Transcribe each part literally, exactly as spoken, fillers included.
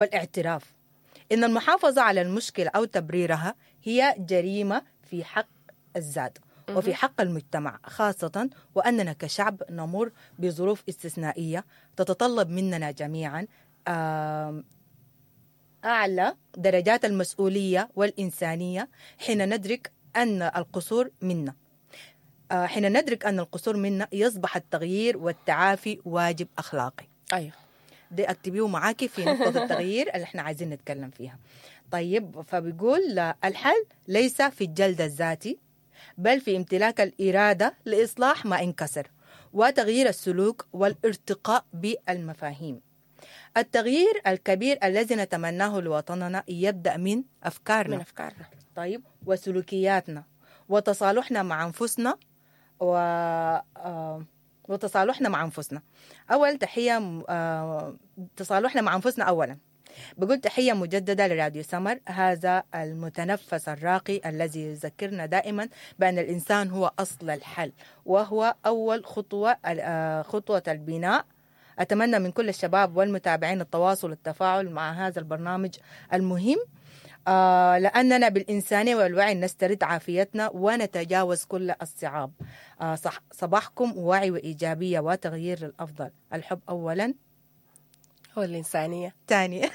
والاعتراف إن المحافظة على المشكلة أو تبريرها هي جريمة في حق الذات وفي حق المجتمع، خاصة وأننا كشعب نمر بظروف استثنائية تتطلب مننا جميعا آم، أعلى درجات المسؤولية والإنسانية حين ندرك أن القصور منا آه، حين ندرك أن القصور منا يصبح التغيير والتعافي واجب أخلاقي. ايوه دي اكتبيه معاكي في نقطة التغيير اللي احنا عايزين نتكلم فيها. طيب، فبيقول آه، الحل ليس في الجلد الذاتي، بل في امتلاك الإرادة لإصلاح ما انكسر وتغيير السلوك والارتقاء بالمفاهيم. التغيير الكبير الذي نتمناه لوطننا يبدأ من أفكارنا من افكارنا. طيب، وسلوكياتنا وتصالحنا مع أنفسنا و آه، وتصالحنا مع أنفسنا. أول تحية م- آه، تصالحنا مع أنفسنا أولا. بقول تحية مجددة لراديو سمر، هذا المتنفس الراقي الذي يذكرنا دائما بأن الإنسان هو أصل الحل وهو أول خطوة آه، خطوة البناء. أتمنى من كل الشباب والمتابعين التواصل والتفاعل مع هذا البرنامج المهم، آه، لأننا بالإنسانية والوعي نسترد عافيتنا ونتجاوز كل الصعاب. آه، صح صباحكم وعي وإيجابية وتغيير للأفضل. الحب أولا، هو الانسانية ثانيا.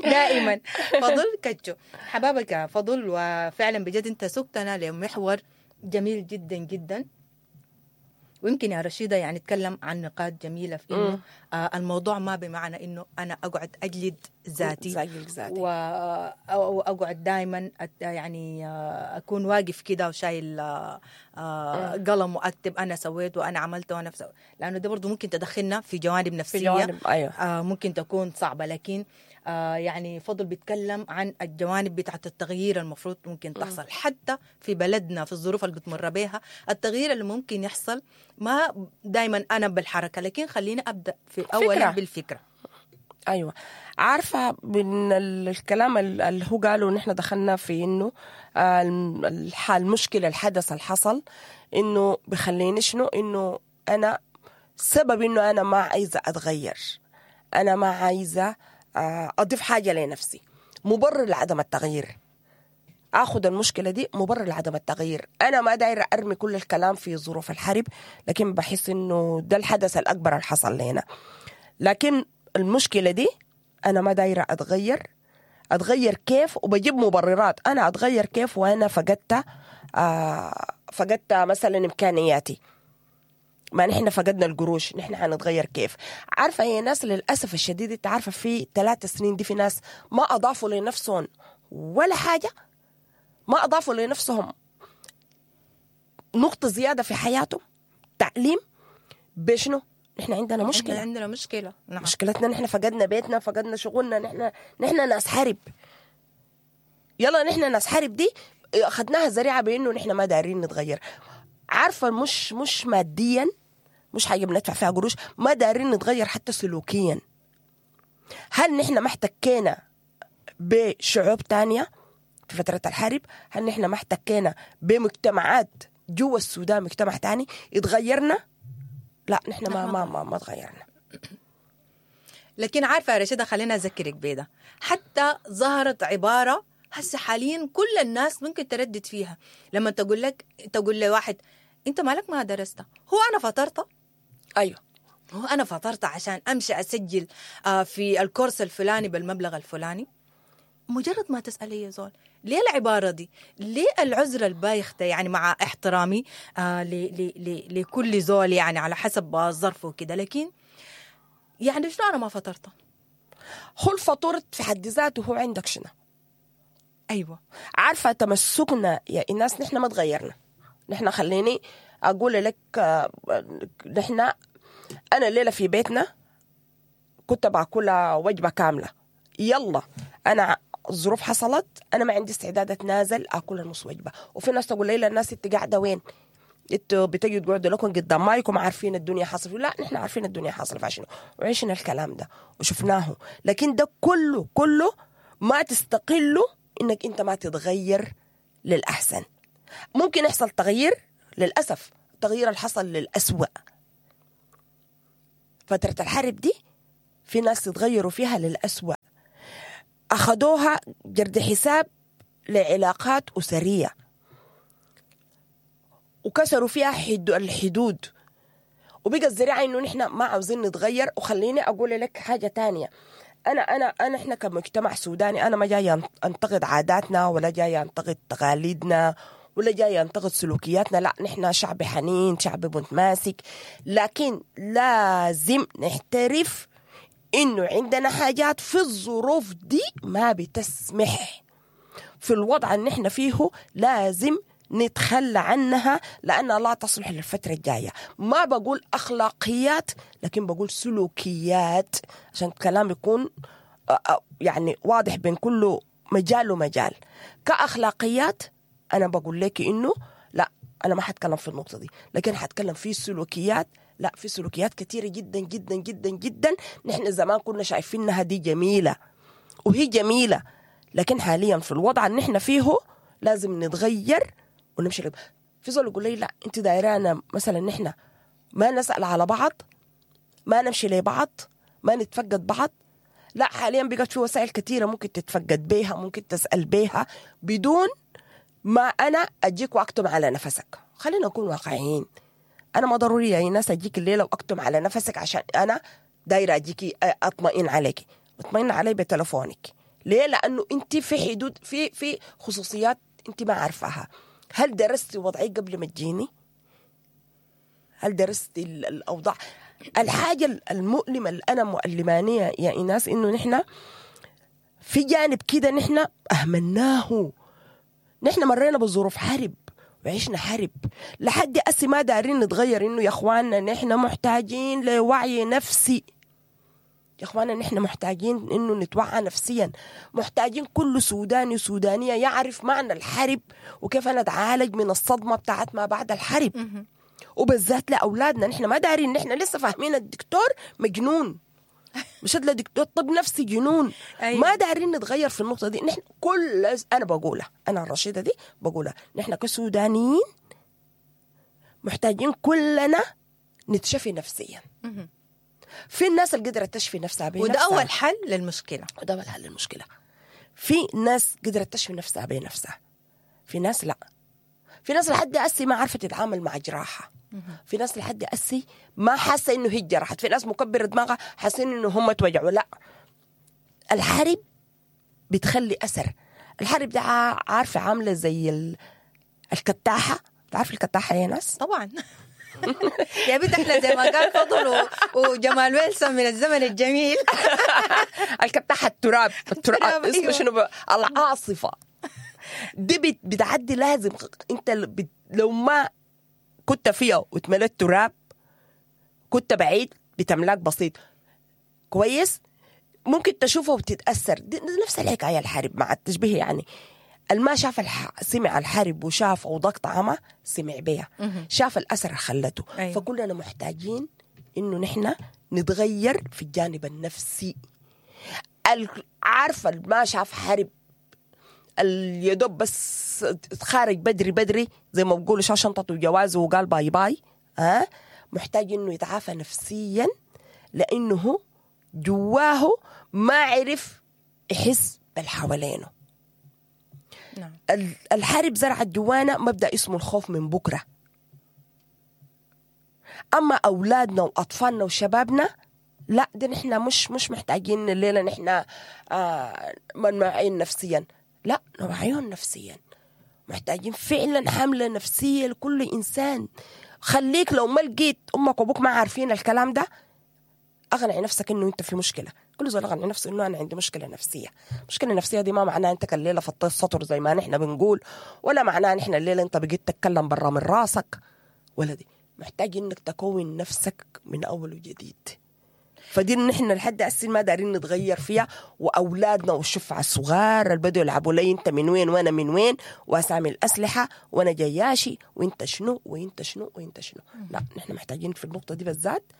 دائما فضل كتشو حبابك يا فضل، وفعلا بجد انت سقتنا لمحور جميل جدا جدا. ويمكن يا رشيدة يعني نتكلم عن نقاط جميلة في إنه آه الموضوع ما بمعنى إنه أنا أقعد أجلد ذاتي أجلد ذاتي. و- وأقعد دائما يعني آه، أكون واقف كده وشايل آه، آه، قلم وأكتب أنا سويت وأنا عملت وأنا سويت، لأنه ده برضو ممكن تدخلنا في جوانب نفسية في جوانب ايوه آه، ممكن تكون صعبة. لكن آه، يعني فضل بيتكلم عن الجوانب بتاعت التغيير المفروض ممكن تحصل حتى في بلدنا في الظروف اللي بتمر بيها. التغيير اللي ممكن يحصل ما دايما أنا بالحركة، لكن خلينا أبدأ في أولا فكرة. بالفكرة. ايوه، عارفه من ال- الكلام ال- اللي هو قاله نحن دخلنا في انه آه، الم- الح- المشكلة الحدث اللي حصل انه بخليني شنو انه انا سبب انه انا ما عايزه اتغير، انا ما عايزه آه، اضيف حاجة لنفسي، مبرر لعدم التغيير. اخذ المشكلة دي مبرر لعدم التغيير. انا ما دايرة ارمي كل الكلام في ظروف الحرب، لكن بحس انه ده الحدث الاكبر اللي حصل لنا. لكن المشكلة دي انا ما دايرة اتغير. اتغير كيف؟ وبجيب مبررات. انا اتغير كيف وانا فقدت آه فقدت مثلا امكانياتي؟ ما نحن فقدنا القروش، نحن حنتغير كيف؟ عارفه يا ناس للاسف الشديد، انت عارفه في ثلاث سنين دي في ناس ما اضافوا لنفسهم ولا حاجة، ما اضافوا لنفسهم نقطة زيادة في حياتهم، تعليم بشنو؟ نحن عندنا مشكلة. إحنا عندنا مشكلة، نعم. مشكلتنا نحن فقدنا بيتنا، فقدنا شغلنا، نحن نحن ناس حرب. يلا نحن ناس حرب دي اخذناها ذريعة بانه نحن ما دارين نتغير. عارفه مش مش ماديا، مش حاجة بندفع فيها قروش، ما دارين نتغير حتى سلوكيا. هل نحن ما احتكينا بشعوب تانية في فترة الحرب؟ هل نحن ما احتكينا بمجتمعات جوا السودان، مجتمع تاني اتغيرنا؟ لا، نحن ما ما ما, ما تغيرنا. لكن عارفة يا رشيدة، خلينا أذكرك بيدا، حتى ظهرت عبارة هسه حاليا كل الناس ممكن تردد فيها، لما تقول لك تقول لواحد أنت مالك ما درست؟ هو أنا فطرت؟ ايوه هو أنا فطرت عشان أمشي أسجل آه، في الكورس الفلاني بالمبلغ الفلاني؟ مجرد ما تسأل يا زول ليه العبارة دي؟ ليه العذر البايخ ده؟ يعني مع احترامي آه ل- ل- ل- لكل زول يعني على حسب ظرفة وكده، لكن يعني شنو أنا ما فطرت؟ هو الفطور في حد ذاته هو عندك شنو؟ أيوة عارفة تمسكنا يا الناس، نحن ما تغيرنا. نحن خليني أقول لك آه، نحن أنا الليلة في بيتنا كنت باكلها وجبة كاملة. يلا أنا الظروف حصلت، أنا ما عندي استعداد أتنازل أكل نص وجبة. وفي ناس تقول لي لا الناس أنت قاعدة وين؟ انتوا بتجوا تقعدوا لكم قدام مايكم عارفين الدنيا حاصل. لا، نحن عارفين الدنيا حاصل فيها شنو، وعشنا الكلام ده وشفناه. لكن ده كله كله ما تستقله انك انت ما تتغير للاحسن. ممكن يحصل تغيير، للاسف التغيير اللي حصل للاسوأ. فترة الحرب دي في ناس تغيروا فيها للأسوأ، أخذوها جرد حساب لعلاقات أسرية وكسروا فيها حد الحدود، وبقى الزريعة إنه نحن ما عاوزين نتغير. وخليني أقول لك حاجة تانية، أنا أنا أنا إحنا كمجتمع سوداني أنا ما جاي أنتقد عاداتنا ولا جاي أنتقد تقاليدنا ولا جاي أنتقد سلوكياتنا، لا نحن شعب حنين، شعب متماسك، لكن لازم نحترف إنه عندنا حاجات في الظروف دي ما بتسمح في الوضع اللي نحن فيه لازم نتخلى عنها لأنها لا تصلح للفترة الجاية. ما بقول أخلاقيات لكن بقول سلوكيات عشان الكلام يكون يعني واضح بين كل مجال ومجال. كأخلاقيات أنا بقول لك إنه لا أنا ما حتكلم في النقطة دي، لكن حتكلم في سلوكيات. لا في سلوكيات كثيرة جدا جدا جدا جدا نحن زمان كنا شايفينها دي جميلة وهي جميلة، لكن حاليا في الوضع اللي نحن فيه لازم نتغير ونمشي. في زول يقول لي لا انت دايرانا مثلا نحن ما نسأل على بعض، ما نمشي لبعض، ما نتفقد بعض. لا حاليا بقت في وسائل كثيرة ممكن تتفقد بيها، ممكن تسأل بيها بدون ما أنا أجيك وأكتم على نفسك. خلينا نكون واقعيين، أنا ما ضروري يا ناس أجيك الليلة وأكتم على نفسك عشان أنا دايرة أجيكي أطمئن عليك. اطمئن علي بتلفونك. ليه؟ لأنه أنت في حدود، في في خصوصيات أنت ما عارفاها. هل درستي وضعي قبل ما تجيني؟ هل درستي الأوضاع؟ الحاجة المؤلمة اللي أنا مؤلمانية يا إيناس إنه نحن في جانب كده نحن أهملناه. نحن مرينا بظروف حرب وعشنا حرب لحد أسي ما دارين نتغير. إنه يا إخواننا نحن محتاجين لوعي نفسي، يا إخواننا نحن محتاجين إنه نتوعى نفسيا، محتاجين كل سوداني وسودانية يعرف معنى الحرب وكيف أنا أتعالج من الصدمة بتاعت ما بعد الحرب، وبالذات لأولادنا. نحن ما دارين، نحن لسه فاهمين الدكتور مجنون، مش هتلاقي دكتور طب نفسي جنون. أيوة. ما دارين نتغير في النقطة دي. نحن كل أنا بقولها، أنا الرشيدة دي بقولها، نحن كسودانيين محتاجين كلنا نتشفي نفسيا. في الناس اللي قدرت تشفي نفسها بنفسها، وده أول حل للمشكلة، وده أول حل للمشكلة. في ناس قدرت تشفي نفسها بنفسها، في ناس لا، في ناس لحد أسي ما عرفت تتعامل مع جراحة، في ناس لحد أسي ما حاسة إنه هي جرحت، في ناس مكبرة دماغها حاسين إنه هم توجعوا. لا، الحرب بتخلي أثر. الحرب ده عارفة عاملة زي الكتاحة. تعرف الكتاحة يا ناس؟ طبعا. يا بنت احنا زي ما قال فضل و... وجمال ويلسون من الزمن الجميل. الكتاحة التراب، التراب اسمه شنو؟ العاصفة دي بتعدي، لازم انت بت... لو ما كنت فيها وتملت تراب، كنت بعيد بتملاك بسيط كويس ممكن تشوفه وتتأثر. دي نفس الحكاية الحرب مع التشبيه يعني. الما شاف الح... سمع الحرب وشاف وضاق طعمه سمع بيها، شاف الأثر خلته. أيوة. فكلنا محتاجين إنه نحن نتغير في الجانب النفسي. عارفة ما شاف حرب اليدوب بس خارج بدري بدري زي ما بقولوا شال شنطته وجوازه وقال bye bye، ها محتاج إنه يتعافى نفسيا لأنه جواه ما عرف يحس بالحوالينه. نعم. الحرب زرعت جوانا مبدأ اسمه الخوف من بكرة. أما أولادنا وأطفالنا وشبابنا لا، ده نحن مش مش محتاجين الليلة نحن آه منوعين نفسيا، لا نوعيهم نفسيا. محتاجين فعلا حملة نفسية لكل إنسان. خليك لو ما لقيت أمك وأبوك ما عارفين الكلام ده، أغنع نفسك إنه أنت في مشكلة. كل زول أغنع نفسه إنه أنا عندي مشكلة نفسية. مشكلة نفسية دي ما معناها أنت الليلة فطيت سطر زي ما نحن بنقول، ولا معناها نحن الليلة أنت بقيت تتكلم برا من راسك، ولا دي. محتاج إنك تكون نفسك من أول وجديد. فدي نحن لحد هسه ما دارين نتغير فيها. واولادنا والشفع الصغار اللي بدوا يلعبوا لي انت من وين وانا من وين، واسامي الاسلحة وانا جياشي وانت شنو وانت شنو وانت شنو. لا، نحن محتاجين في النقطة دي بالذات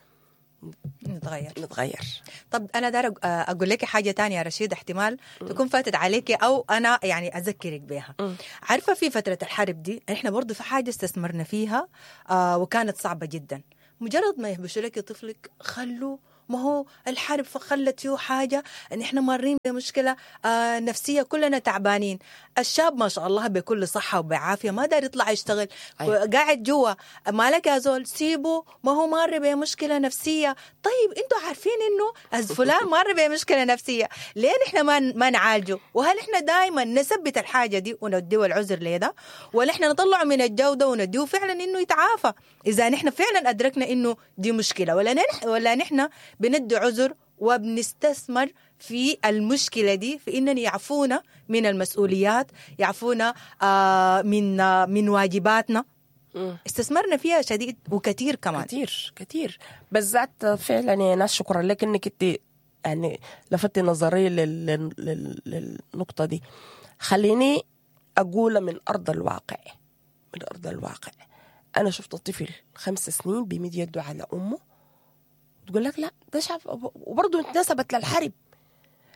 نتغير نتغير. طب انا دار اقول لك حاجة تانية يا رشيد، احتمال تكون فاتت عليك او انا يعني اذكرك بها. عارفه في فترة الحرب دي احنا برضو في حاجة استثمرنا فيها آه وكانت صعبة جدا. مجرد ما يهبشوا لك طفلك خلوا ما هو الحرب خلت فيه حاجة، نحن مارين بمشكلة آه نفسية، كلنا تعبانين. الشاب ما شاء الله بكل صحة وبعافيه ما داير يطلع يشتغل. أيوة. قاعد جوا، مالك يا زول سيبه، ما هو مار بمشكلة نفسية. طيب انتوا عارفين انه فلان مار بمشكلة نفسية، ليه نحن ما ما نعالجه؟ وهل احنا دائما نثبت الحاجة دي ونديه العذر ليه ده، ولا احنا نطلعه من الجودة ونديه فعلا انه يتعافى اذا نحن فعلا ادركنا انه دي مشكلة؟ ولا نحن ولا نحن بندي عذر وبنستثمر في المشكلة دي في اننا يعفونا من المسؤوليات، يعفونا آه من آه من واجباتنا. استثمرنا فيها شديد وكثير كمان، كثير كثير بالذات. فعلا يا ناس شكرا لك انك انت يعني لفتي نظري لل... لل... للنقطة دي. خليني اقول من ارض الواقع، من ارض الواقع انا شفت طفل خمس سنين بيمد يده على امه تقول لك لا ده شاف، وبرضه اتنسبت للحرب.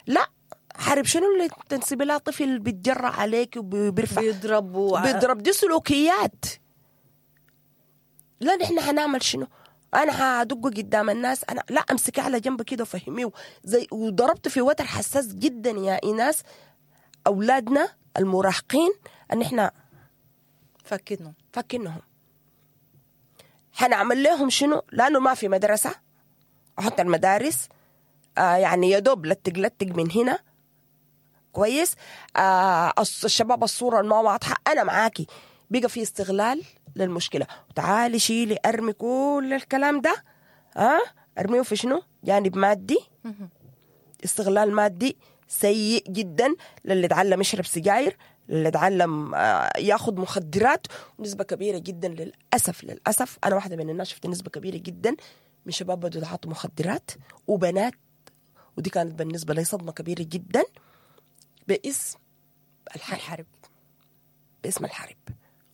لا حرب شنو اللي تنسب لها طفل بيتجرأ عليك وبيرفع بيضرب و... بيضرب؟ دي سلوكيات. لا نحن هنعمل شنو؟ انا هدقه قدام الناس؟ انا لا، امسكه على جنب كده وفهميه زي. وضربت في وتر حساس جدا يا ايناس، اولادنا المراهقين ان احنا فكنهم فكنهم هنعمل لهم شنو؟ لانه ما في مدرسه، وحتى المدارس آه يعني يدوب لتق لتق من هنا كويس. آه الشباب الصورة ما واضحة. انا معاكي، بقى في استغلال للمشكلة. وتعالي شيلي ارمي كل الكلام ده، ها آه؟ ارميه في شنو؟ جانب مادي، استغلال مادي سيء جدا للي اتعلم يشرب سجاير، للي اتعلم ياخذ مخدرات. ونسبه كبيرة جدا للاسف، للاسف انا واحدة من الناس شفت نسبه كبيرة جدا من شباب بدوا يتعاطوا مخدرات وبنات، ودي كانت بالنسبة لي صدمة كبيرة جدا باسم الحرب, الحرب. باسم الحرب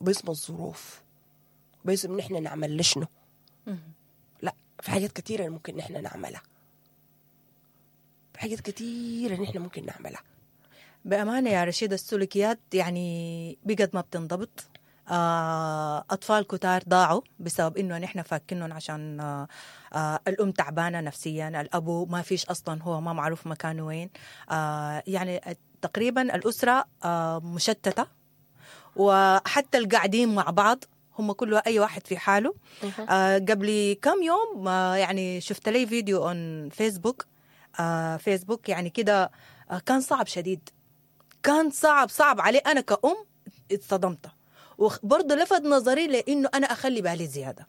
وباسم الظروف وباسم نحن نعمل لشنو. لا في حاجات كثيرة ممكن نحن نعملها، في حاجات كثيرة نحن ممكن نعملها. بأمانة يا رشيد السلوكيات يعني بقت ما بتنضبط. أطفال كتار ضاعوا بسبب إنه نحن فاكينهم عشان الأم تعبانة نفسيا، الأبو ما فيش أصلا، هو ما معروف مكانه وين. يعني تقريبا الأسرة مشتتة، وحتى القاعدين مع بعض هم كله أي واحد في حاله. قبل كم يوم يعني شفت لي فيديو on فيسبوك، فيسبوك يعني كده كان صعب شديد، كان صعب صعب علي أنا كأم، اتصدمت. وبرضه لفت نظري لأنه أنا أخلي بالي زيادة.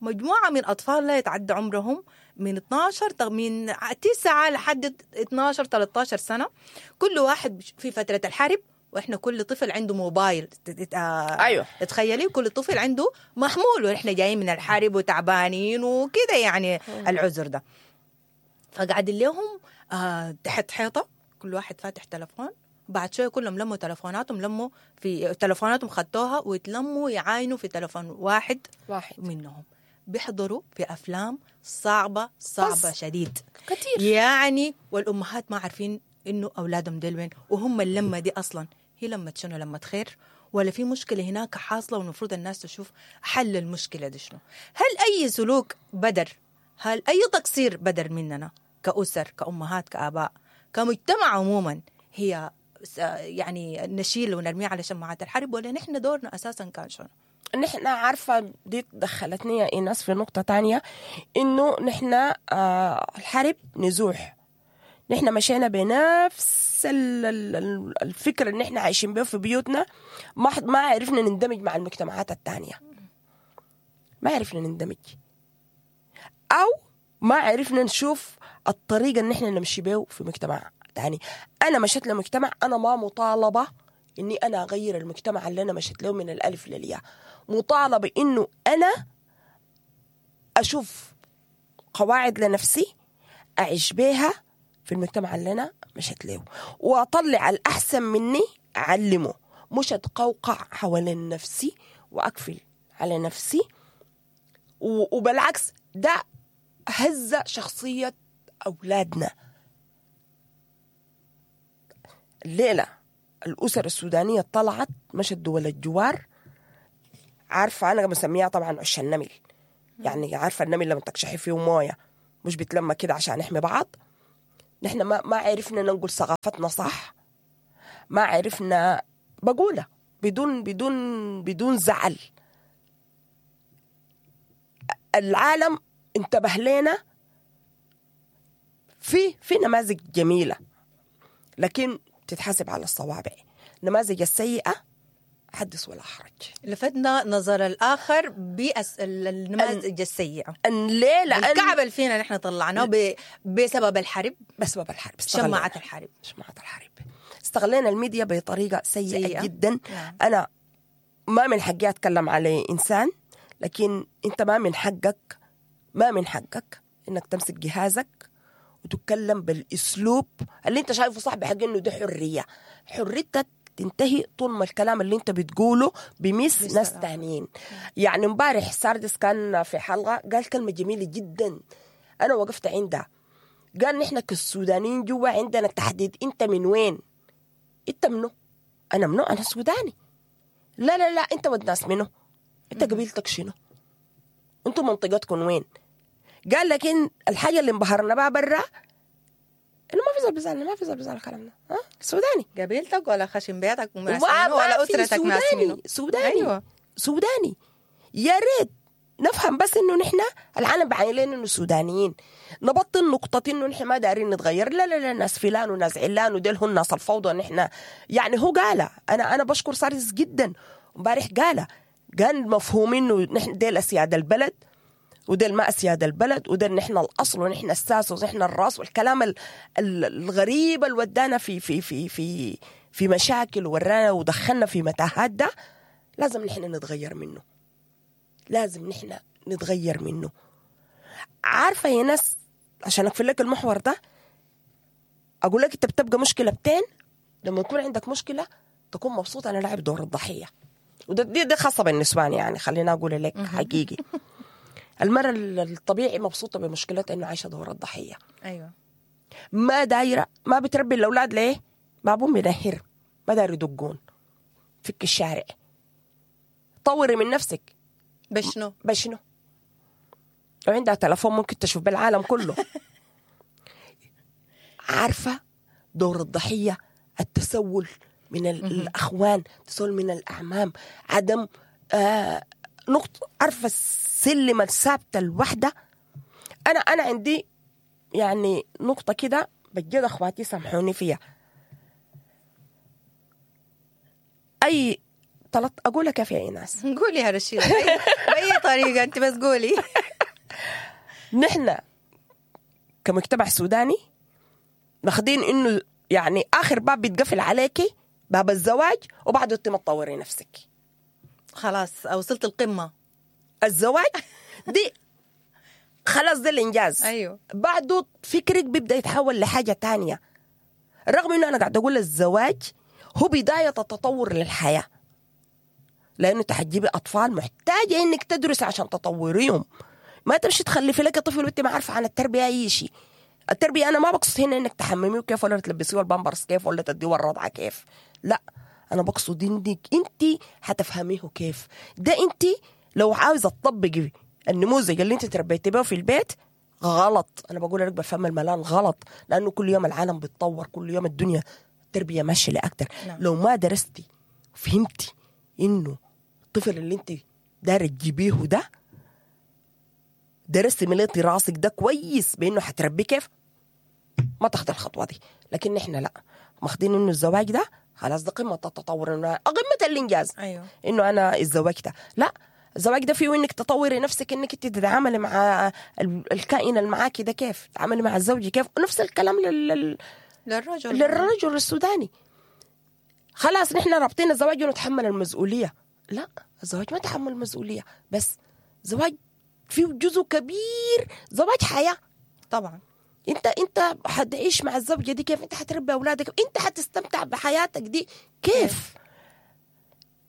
مجموعة من أطفال لا يتعدى عمرهم من اثناشر، من تسعة لحد اثناشر ثلاثة عشر سنة، كل واحد في فترة الحرب، وإحنا كل طفل عنده موبايل. أيوه تخيلي كل طفل عنده محمول، وإحنا جايين من الحرب وتعبانين وكده يعني العذر ده. فقعد لهم آه تحت حيطة، كل واحد فاتح تلفون. بعد شوية كلهم لموا تلفوناتهم، لموا في تلفوناتهم خدتوها ويتلموا يعاينوا في تلفون واحد, واحد منهم. بيحضروا في أفلام صعبة صعبة شديد كتير يعني، والأمهات ما عارفين إنه أولادهم ديل وين، وهم اللمة دي أصلا هي لمة شنو؟ لمة خير ولا في مشكلة هناك حاصلة والمفروض الناس تشوف حل المشكلة دي شنو؟ هل أي سلوك بدر، هل أي تقصير بدر مننا كأسر، كأمهات، كآباء، كمجتمع عموما، هي يعني نشيل ونرميه على شماعات الحرب، ولا نحن دورنا أساسا كان شنو؟ نحن عارفة دي دخلتني يا إيناس في نقطة تانية، إنه نحن آه الحرب نزوح، نحن مشينا بنفس الفكرة اللي نحن عايشين بيه في بيوتنا، ما ما عرفنا نندمج مع المجتمعات التانية، ما عرفنا نندمج، أو ما عرفنا نشوف الطريقة اللي نحن نمشي بيه في مجتمع تاني. أنا مشيت لمجتمع، أنا ما مطالبة إني أنا أغير المجتمع اللي أنا مشيت له من الألف للياء، مطالبة إنه أنا أشوف قواعد لنفسي أعيش بيها في المجتمع اللي أنا مشيت له، وأطلع الأحسن مني أعلمه، مش أتقوقع حوالين نفسي وأقفل على نفسي. وبالعكس ده هز شخصية أولادنا. الليلة الأسر السودانية طلعت مشت دول الجوار، عارفة أنا بسميها طبعا عش النمل، يعني عارفة النمل لما تكشحي فيه موية مش بتلمى كده عشان نحمي بعض. نحن ما ما عرفنا ننقل ثقافتنا صح، ما عرفنا بقولها بدون بدون بدون زعل. العالم انتبه لنا في في نماذج جميلة، لكن تتحسب على الصوابع. النماذج السيئة حدث ولا حرج. لفتنا نظر الآخر بالنماذج السيئة. أن ليه؟ لأن الكعب اللي فينا نحن طلعناه ب... بسبب الحرب، بسبب الحرب، شماعة الحرب، شماعة الحرب. استغلينا الميديا بطريقة سيئة, سيئة. جدا. نعم. أنا ما من حقي أتكلم على إنسان، لكن أنت ما من حقك، ما من حقك إنك تمسك جهازك وتتكلم بالأسلوب اللي أنت شايفه صح، بحق إنه ده حرية. حريتك تنتهي طول ما الكلام اللي انت بتقوله بمس ناس تانيين. يعني امبارح ساردس كان في حلقة قال كلمة جميلة جدا، أنا وقفت عندها. قال نحن كالسودانيين جوا عندنا تحديد، انت من وين؟ انت منو؟ أنا منو؟ أنا سوداني. لا لا لا، انت ود ناس منو؟ انت قبيلتك شنو؟ انتوا منطقتكم وين؟ قال لكن الحاجة اللي انبهرنا بها برا إنه ما في زول بيزعلنا، ما في زول بيزعل كلامنا. ها سوداني قبيلتك ولا خشم بيتك وما ولا أسرتك ناس منه. سوداني. أيوة. سوداني. يا ريت نفهم بس إنه نحن العالم بعين لنا إنه سودانيين، نبطل نقطة إنه نحن ما دارين نتغير. لا لا لا، ناس فلان وناس علان وديل هم ناس الفوضى. نحن يعني هو قاله، أنا أنا بشكر سارس جدا امبارح قاله، قال مفهوم إنه نحن ديل أسياد البلد وديل ما أسياد البلد، وديل نحن الأصل ونحن الساس ونحن الراس، والكلام الغريب اللي ودانا في في في في في مشاكل ورانا ودخلنا في متاهات، ده لازم نحن نتغير منه، لازم نحن نتغير منه. عارفة يا ناس، عشان أقفل لك المحور ده أقول لك أنت بتبقى مشكلة بتين لما يكون عندك مشكلة تكون مبسوط أنا لاعب دور الضحية، وده دي, دي خاصة بالنسوان يعني، خلينا أقول لك حقيقي. المرأة الطبيعي مبسوطة بمشكلتها إنه عايشة دور الضحية. أيوة. ما دايرة، ما بتربي الأولاد ليه؟ ما أبوهم بينهر، ما داير يدقون فك الشارع. طوري من نفسك. بشنو؟ بشنو؟ وعندها تلفون ممكن تشوف بالعالم كله. عارفة دور الضحية، التسول من الأخوان، التسول من الأعمام، عدم آه نقطة، عارفة السلمة الثابتة الوحدة. أنا أنا عندي يعني نقطة كده بجد أخواتي سامحوني فيها. أي طلعت أقولها كيف يا إيناس؟ قولي يا رشيدة بأي طريقة أنت بس قولي. نحن كمجتمع سوداني ماخدين إنه يعني آخر باب بيتقفل عليكي باب الزواج، وبعده أنت ما تطوري نفسك. خلاص وصلت القمة الزواج دي خلاص ده الإنجاز. أيوه. بعده فكرك بيبدأ يتحول لحاجة تانية، رغم إنه أنا قاعد أقول الزواج هو بداية التطور للحياة، لأنه تحجبي أطفال محتاجة إنك تدرس عشان تطوريهم. ما تمشي تخلفي لك طفل وأنت ما عارفة عن التربية أي شيء. التربية أنا ما بقصد هنا إنك تحمميه كيف ولا تلبسيه البامبرز كيف ولا تديه الرضعة كيف، لا، أنا بقصد إنك أنت هتفهميه كيف. ده أنت لو عاوزة تطبقي النموذج اللي أنت تربيتي به في البيت غلط. أنا بقول لك بفهم الملان غلط، لأنه كل يوم العالم بيتطور، كل يوم الدنيا التربية ماشية لأكتر. نعم. لو ما درستي وفهمتي إنه الطفل اللي أنت دايرة تجيبيه ده درستي مليتي راسك ده كويس بإنه هتربيه كيف، ما تاخد الخطوة دي. لكن نحن لا، ماخدين إنه الزواج ده خلاص ده قمة التطور، إنه قمة الإنجاز. أيوه. إنه أنا اتزوجت. لا، الزواج ده فيه إنك تطوري نفسك، إنك تتعاملي مع الكائن اللي معاكي ده كيف، تتعاملي مع الزوج كيف. نفس الكلام لل... للرجل للرجل السوداني. خلاص نحن رابطين الزواج ونتحمل المسؤولية. لا، الزواج ما تحمل المسؤولية بس، زواج فيه جزء كبير زواج حياة. طبعا انت انت حتعيش مع الزوجة دي كيف، انت حتربي اولادك، انت حتستمتع بحياتك دي كيف.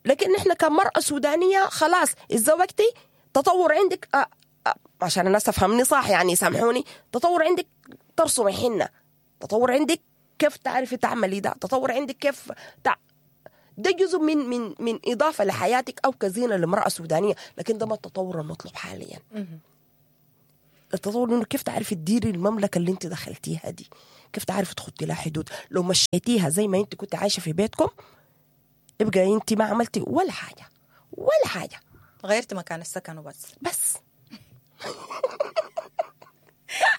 لكن احنا كمرأة سودانية خلاص اتزوجتي تطور عندك أه أه عشان الناس تفهمني صح يعني سامحوني، تطور عندك ترسمي حنة، تطور عندك كيف تعرفي تعملي ده، تطور عندك كيف تع... ده جزء من من من إضافة لحياتك أو كزينة لامرأة سودانية، لكن ده ما التطور المطلوب حاليا. التطور انه كيف تعرفي تديري المملكة اللي انت دخلتيها دي، كيف تعرفي تخطي لها حدود. لو مشيتيها زي ما انت كنت عايشه في بيتكم يبقى انت ما عملتي ولا حاجة ولا حاجة، غيرت مكان السكن وبس بس.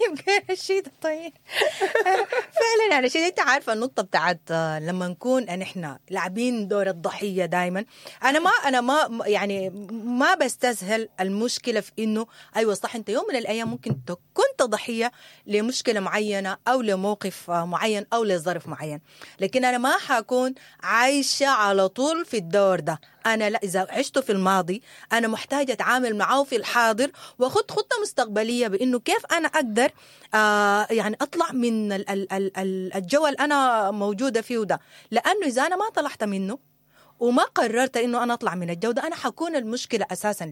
يبقى رشيدة طيب فعلا يعني رشيدة، انت عارفه النقطة بتاعت لما نكون نحن لاعبين دور الضحية دائما. انا ما انا ما يعني ما بستسهل المشكلة في انه ايوه صح، انت يوم من الايام ممكن كنت ضحية لمشكلة معينة او لموقف معين او لظرف معين، لكن انا ما حكون عايشه على طول في الدور ده. أنا لا، إذا عشت في الماضي أنا محتاجة أتعامل معه في الحاضر وأخذ خطة مستقبلية بإنه كيف أنا أقدر آه يعني أطلع من ال ال ال الجو اللي أنا موجودة فيه ده، لأنه إذا أنا ما طلعت منه وما قررت إنه أنا أطلع من الجو ده أنا حكون المشكلة أساساً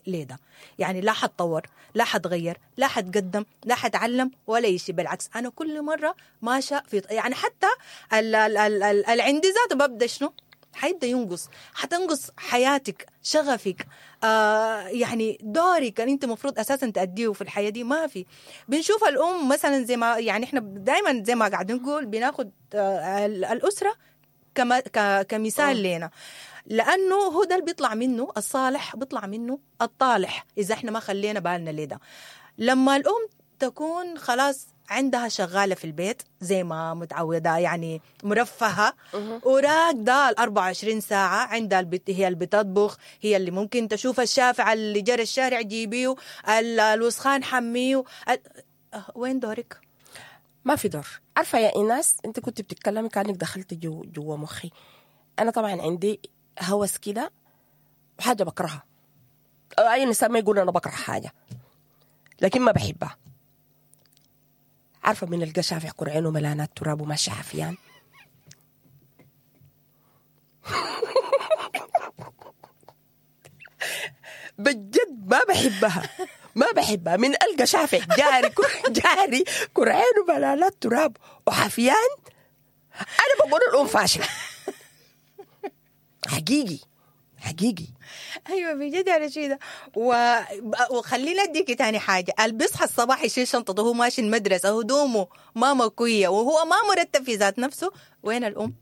ليه ده. يعني لا حتطور، لا حتغير، لا حتقدم، لا حتعلم ولا شيء. بالعكس أنا كل مرة ماشى في يعني حتى ال ال ال ال العندي ذاته ببدأ شنو حيبدأ ينقص، حتنقص حياتك، شغفك، آه يعني دورك اللي انت مفروض اساسا تأدية في الحياة دي ما في. بنشوف الام مثلا زي ما يعني احنا دائما زي ما قاعدين نقول بناخد آه الاسرة كما كمثال لنا، لانه هو ده اللي بيطلع منه الصالح، بيطلع منه الطالح اذا احنا ما خلينا بالنا لده. لما الام تكون خلاص عندها شغالة في البيت زي ما متعودة يعني مرفهة وراكدة ال أربعة وعشرين ساعة، عندها البت هي اللي بتطبخ، هي اللي ممكن تشوف الشافع اللي جرى الشارع جيبيه، الوسخان حمية. وين دورك؟ ما في دور. عارفة يا إيناس أنت كنت بتتكلمي كأنك دخلت جو جوا مخي. أنا طبعا عندي هوس كده وحاجة بكرهها، أي إنسان ما يقول أنا بكره حاجة لكن ما بحبها. عارفة من القى شافع كرعينه ملانات تراب وماشي حفيان؟ بجد ما بحبها، ما بحبها. من ألقى شافع جاري جاري كرعينه ملانات تراب وحفيان أنا بقول الأم فاشلة حقيقي حقيقي. ايوه بجد يا رشيده. و... وخلينا اديكي تاني حاجة، اللي بيصحى الصباح يشيل شنطته وهو ماشي المدرسة هدومه ما مكويه وهو ما مرتب في ذات نفسه، وين الام؟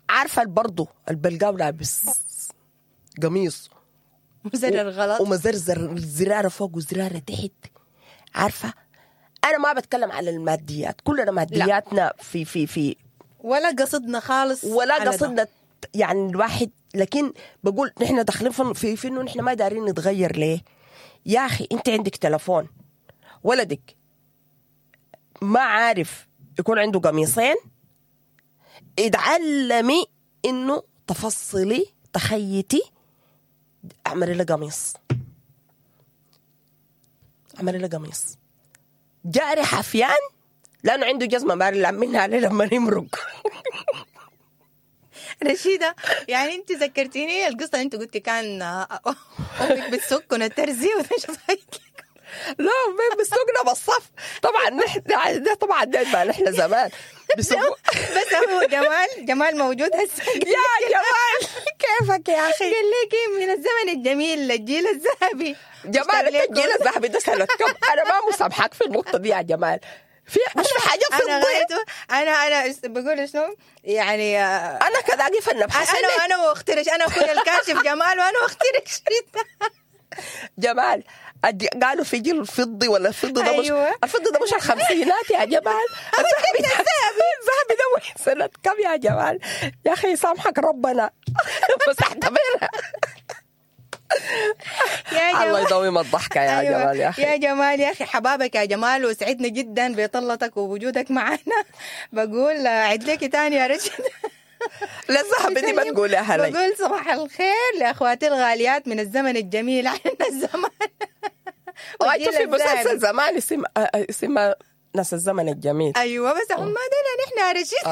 عارفه برضه البلقاو لابس قميص مزرر غلط ومزرزر زرارة فوق وزراره تحت. عارفه انا ما بتكلم على الماديات، كلنا مادياتنا لا. في في في ولا قصدنا خالص ولا قصدنا يعني الواحد، لكن بقول نحن داخلين في في انه نحن ما دارين نتغير. ليه يا اخي؟ انت عندك تلفون، ولدك ما عارف يكون عنده قميصين، اتعلمي انه تفصلي تخيتي، اعملي له قميص، اعملي له قميص. جاري حفيان لانه عنده جزمه ما منها عليه لما يمرق. رشيدة يعني انت ذكرتيني القصة، انت قلتي كان امك بتسكن الترزي وتشوفك. لا امي بتسكنا بالصف طبعا. نحن ده طبعا ده نحن زمان بس هو جمال جمال موجود هسه. يا جمال كيفك يا اخي؟ قال لك من الزمن الجميل الجيل الذهبي. جمال انت الجيل الذهبي ده سنة كم؟ انا ما مسامحك في النقطة دي يا جمال. في مش في حاجة في انا غايته انا انا بقول شنو يعني، انا كذا اقف النبحث. انا انا واخترش، انا اخوي الكاشف جمال وانا واخترش. جمال قالوا في جيل الفضي ولا الفضي ده مش أيوة. الفضي ده مش الخمسينات يا جمال. الذهبي الذهبي ده سنة كم يا جمال؟ يا اخي سامحك ربنا بس اعتبرها. يا جمال الله يدوم الضحكة يا أيوة. جمال يا أخي، يا جمال يا أخي حبابك يا جمال، وسعدنا جدا بطلتك ووجودك معنا. بقول عد لك تاني يا رشيد. لا الذهب دي ما تقولها لي. بقول صباح الخير لأخواتي الغاليات من الزمن الجميل. عنا الزمن وأنت في مسلسل زمان اسم اسمه ناس الزمن الجميل. أيوة بس هم ما دنا نحن يا رشيد.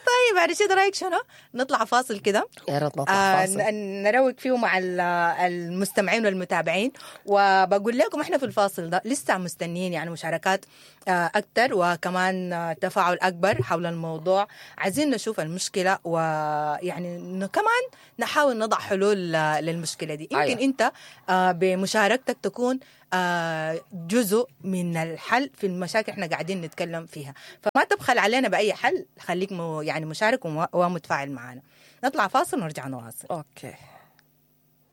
طيب طيب يا رشيد رايك شنو؟ نطلع فاصل كده. يا ريت نطلع آه فاصل. ن- نروق فيه مع ال- المستمعين والمتابعين. وبقول لكم احنا في الفاصل ده لسه مستنيين يعني مشاركات آه اكثر، وكمان آه تفاعل اكبر حول الموضوع. عايزين نشوف المشكلة، ويعني إنه كمان نحاول نضع حلول آه، للمشكلة دي. يمكن أيوة. انت آه بمشاركتك تكون آه جزء من الحل في المشاكل احنا قاعدين نتكلم فيها. فما تبخل علينا باي حل، خليك مو يعني مشارك وم- ومتفاعل معنا. نطلع فاصل ونرجع نواصل. okay.